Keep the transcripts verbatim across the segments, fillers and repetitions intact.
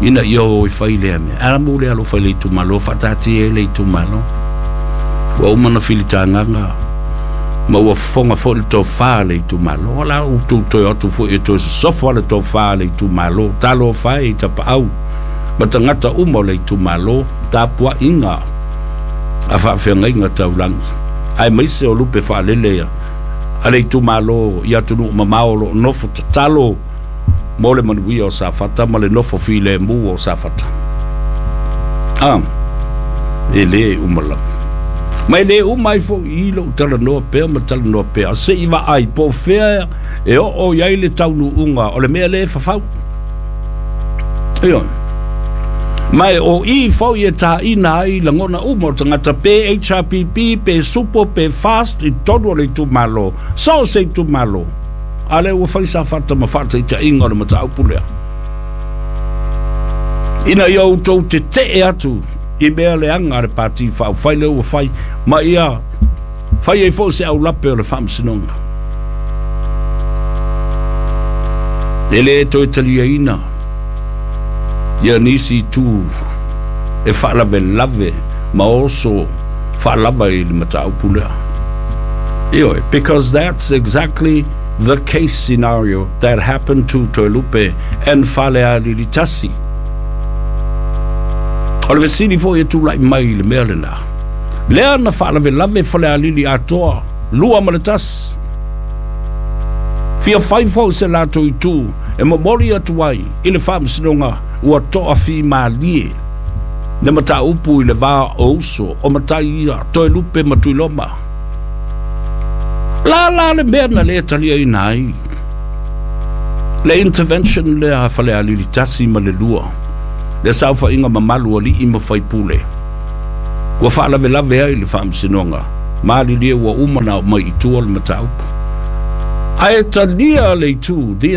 Ina ia o i fai lea mea. Ala mu lea lo fai le itumalo, faataatia ai le itumalo. Ua uma na filitagaga ma ua fofoga foi le tofa le itumalo. O la ua tou toe atu foi e toe sosofo le tofa le itumalo. Talofa e i tapaau ma tagata uma o le itumalo, tapuaiga a faafeagaiga taulagi. Aemaise o lupe faalele a le itumalo i atunuu mamao o lo o nofo tatalo mo le manuia o Safata ma le nofo filemu o Safata. Ah, e lē uma lava. Ma e lē uma ai foi i lou talanoa pea ma talanoa pea. Se i vaai po o fea e oo i ai le taunuuga o le mea lea e fafau. Ioe. Ma e o i foi e taina ai lagona uma o tagata pe H R P P pe SUPO pe FAST i totonu o le itumalo. So o se itumalo. A lea ua fai Safata ma faataitaiga o le mataupu lea. Ina ia outou tetee atu i mea leaga a le Pati Faaupufai lea ua fai ma ia fai ai foi se aulape o le faamasinoga. E lē toe taliaina ia nisi itu e faalavelave ma oso faalava i le mataupu lea. Ioe, because that's exactly the case scenario that happened to Toelupe and Falealili Tasi. O le fesili foi e tulai mai i le mea lena. Lea na faalavelave Falealili atoa, lua ma le tasi. Fia fai foi se latou itu e momoli atu ai i le faamasinoga ua toafimalie le mataupu i le va o uso o matai ia Toelupe ma Tuiloma. La la le mea na lē taliaina ai le intervention lea a Falealili tasi ma le lua, le saofaiga mamalu alii ma faipule ua faalavelave ai le faamasinoga malilie ua uma na mai i tua le mataupu. Ae talia le itu, the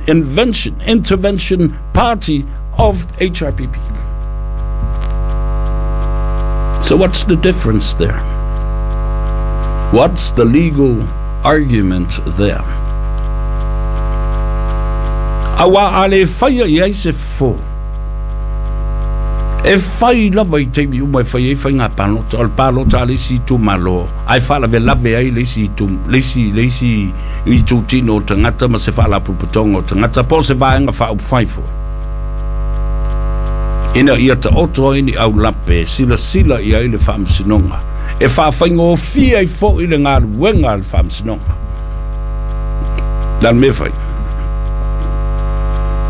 invention, intervention party of H R P P. So what's the difference there? What's the legal argument there? Auā a lē faia i ai se fofo. E fai lava i taimi uma e fai ai faiga palota. O le palota a le isi itumalo, ae faalavelave ai le isi itu, le isi, le isi itutino o tagata ma se faalapotopotoga o tagata po o se vaega faaupufai foi. Ina ia taoto ai ni aulape silasila i ai le faamasinoga. E faafaigofie ai foi le galuega a le faamasinoga. Le a le mea fai?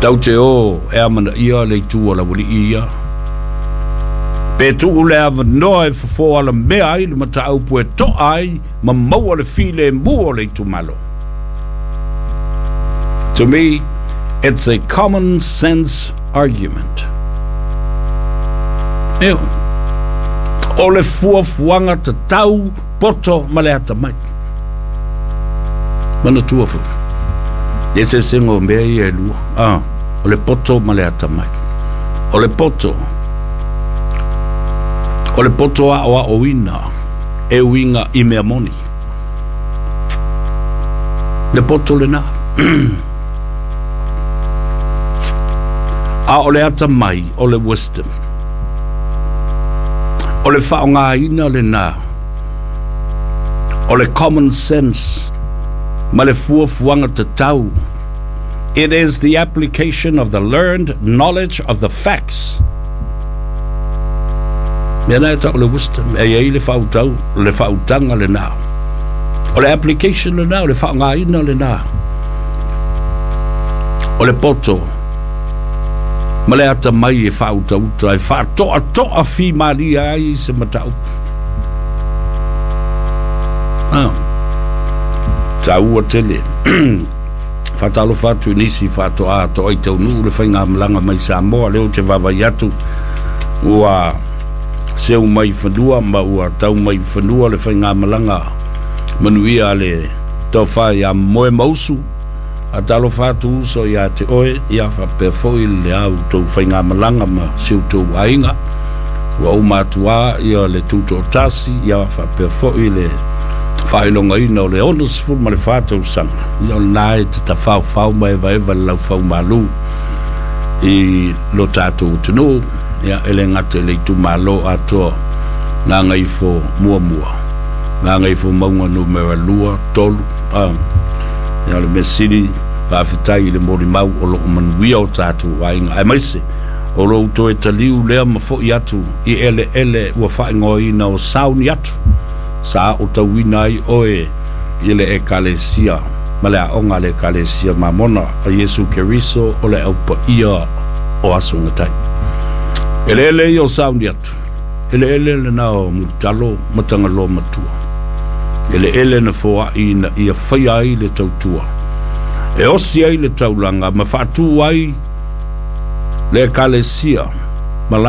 Tau te o e amanaia le itu o laualii ia. Pe tuu le avanoa e fofo alamea ai le mataupu e toa ai ma maua le filemu o le itumalo. To me, it's a common sense argument. Ioe. O le fuafuaga tatau poto ma le atamai. Manatua foi. Eseesega o mea ia e lua. Ah, o le poto ma le atamai. O le poto. O le poto aoaoina e uiga i mea moni. Le poto lena. A o le atamai o le wisdom. O le faaaogaina lena. O le common sense ma le fuafuaga tatau. It is the application of the learned knowledge of the facts. Mea na e tau le wisdom, e iai le faautau, le faautaga lena. O le application lena, o le faaaogaina lena. O le poto ma le atamai e faautauta e faatoatoafimalie ai se mataupu. Ah. Taua tele. Faatalofa atu i nisi faatoa toai taunuu le faigamalaga mai Samoa lea ou te vaavaai atu ua seu mai fanua ma ua tau mai fanua le faigamalaga manuia a le tofa ia Moemausu. Faatalofa atu uso ia te oe, ia faapea foi le a outou faigamalaga ma si outou aiga. Ua uma atu lava ia le tutoatasi, ia faapea foi le faailogaina o le onosefulu ma le fa tausaga. Ia o lena e te tafaofao ma evaeva le laufaumalu. I lo tatou atunuu, ia e le gata i le itumalo atoa Gagaifo Muamua, Gagaifo Mauga Numera Lua, Tolu, a ia o le mea sili faafetai i le molimau o loo manuia o tatou aiga, aemaise o lou toe taliu lea ma fo'i atu i eleele ua faaigoaina o Sauni atu sa aotauina ai oe i le Ekalesia ma le aoga a le Ekalesia Mamona a Iesu Keriso o le aupaia o aso gatai. Eleele ia o Sauni atu, eleele lena o Mulitalo ma Tagaloa Matua, eleele na foa'i ina ia faia ai le tautua e osi ai le taulaga ma faatū ai le Ekalesia.